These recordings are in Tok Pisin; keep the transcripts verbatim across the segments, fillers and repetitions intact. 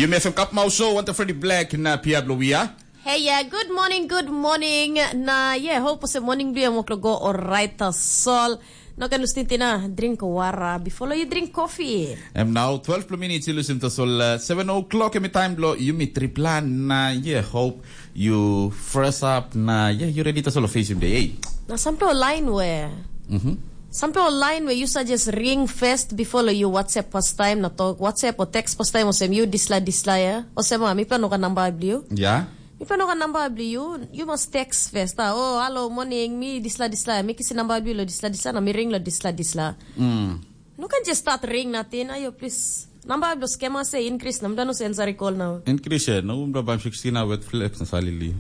Yumi F M Cup Mau Show, want Freddy Black na Pia Blowia. Hey, yeah, good morning, good morning. Na, yeah, hope se morning blue mo go alright tasol. No kan ustintina drink water before you drink coffee. Em now twelve plo minutes you listen tasol uh, seven o'clock every time blo yumi tripla na, yeah, hope you fresh up na, yeah, you ready tasol face him day. Hey. Na samplo line where. Mm-hmm. Samplo line where you suggest ring first before you WhatsApp first time na talk WhatsApp or text first time or sem you disla disla ya. Or sem ah, mi pa no ka number blue. Yeah. Mi pa no ka number blue you, you must text first. Ah, oh, hello, morning, mi disla disla. Mi kisi number blue lo disla disla na mi ring lo disla disla. Mm. No can just start ring nothing. Ayo, please. Number blue scammer say increase. Namda no sense ari call now. Increase eh, no umda bam sixteen na wet flex na salili.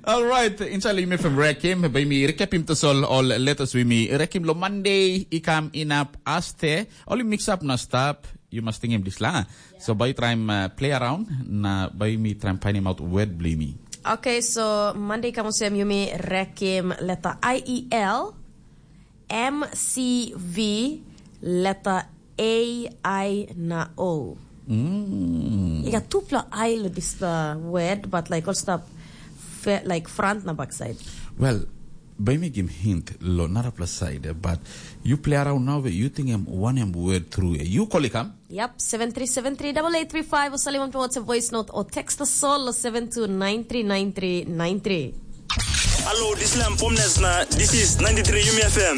All right, inside Lim F M Rekim, by me recap him to sol all letters with me. Rekim lo Monday, ikam inap aste, all mix up na stop. You must think him this la. So by try him uh, play around, na by me try him find him out word blame me. Okay, so Monday kamu sem yumi rekim letter I E L, M C V, letter A I na O. Mm. I got two plus I lo this uh, word, but like all stuff fe- like front na back side. Well, by me give hint lo nara plus side, eh, but you play around now, you think I'm one em word through. Eh. You call it come? Yep, seven three seven three double eight three five or send one WhatsApp voice note or text us all seven two nine three nine three nine three. Hello, this is Lam Pomnes na this is ninety-three Yumi F M.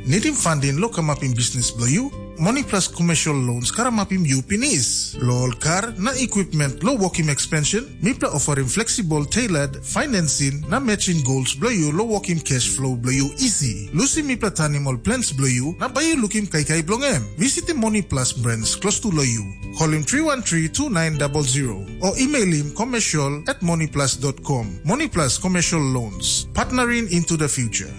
Nidim funding lo kamapim business blo you? Money Plus Commercial Loans karamapim you pinis. Lo ol kar na equipment lo working expansion, mipla offering flexible tailored financing na matching goals blo you lo working cash flow blo you easy. Lusim mipla tanim ol plans blo you na bai you lukim kaikai bilong em. Visitim Money Plus branch close to lo you. Call him three one three two nine double zero or email him commercial at moneyplus dot com. Money Plus Commercial Loans, partnering into the future.